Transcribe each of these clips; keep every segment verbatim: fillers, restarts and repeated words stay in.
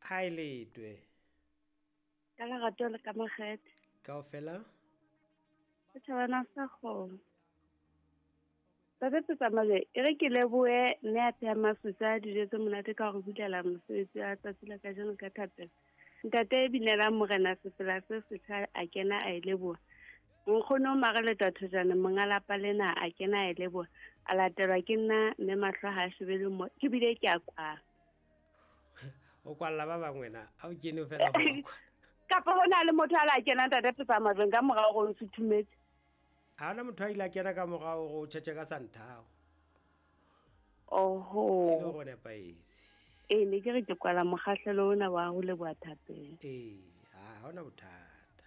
Ha e letwe. Ka lerato le ka makgethe. Kaofela? Setjhabana sa kgomo. Ntate Petsamale, e re ke lebohe mme a pheha masutsa dijo tse monate ka hore bulela mosebetsi wa tsatsi la kajeno ka thapelo. Ntate e binelang morena sefela se setjha a kena a e leboha. Nkgono o Mareleta Thojane monga lapa lena a kena a e leboha. A latelwa ke nna mme mahlo ha a shebele mo ke bile ke a kwala. O kwalla ba bangwe na a o kene fela go kwala. Kapa ho na le motho a la kena Ntate Petsamale ka morao gore o suthumetse. Ha ona motho a ile a kena ka morao gore o tjhetjhe ka santhao. Oho. E le gore nepahetse. Ee, ne ke re ke kwala mokgahlelo ona wa ho leboha thapelo. Ee, ha hona bothata.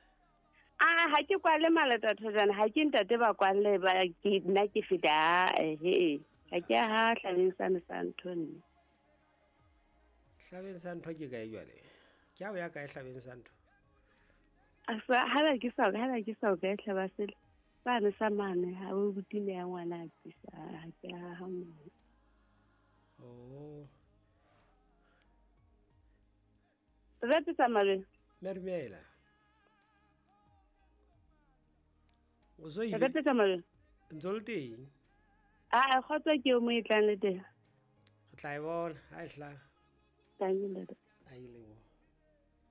Ah, ha ke kwale Maleta Thojane, ha ke ntate ba kwalle ba ke nna ke feta ehe. Ha ke ha hlabeng sane sa ntho nne. Hlabeng sa ntho ke kae jwale? Ke ha o ya kae hlabeng sa ntho? Asa hala ke sa hala ke sa o kae hlaba sele. Sane sa mane ha o butile ya ngwana a tsisa ha ke ha ha mo. Oh. Re tsamale. Mermela. O zo ile. Re tsamale. Ntse le teng. Ah, kgotsa ke o mo e tlang le teng. Re tla e bona ha e hlaha. Thank you, Ntate. A ile bona.